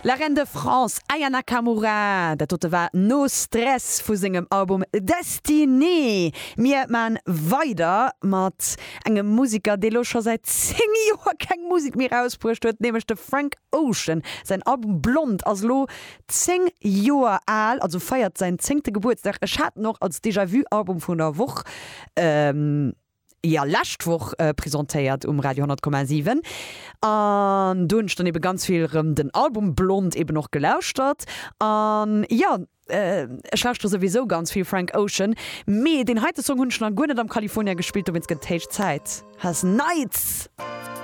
La Reine de France, Aya Nakamura, dat dote war No Stress vu sengem Album Destinée. Mir man weider mat engem Museker, dee lo scho säit 10 Joer keng Musek méi rausbruecht huet, nämlech de Frank Ocean. Säin Album Blond ass lo 10 Joer al, also feiert säin zéngte Gebuertsdag. Ech hat en och als Déjà-vu-Album vun der Woch. jo lescht Woch presentéiert um Radio 100,7 an do hunn ech dann ebe ganz vill rëm den Album Blond eben och gelauschtert an jo ech lauschtere souwisou ganz vill Frank Ocean, mee deen heite Song hunn ech nach guer net am California gespillt, dowéinst gëtt et héich Zäit. Has Nights!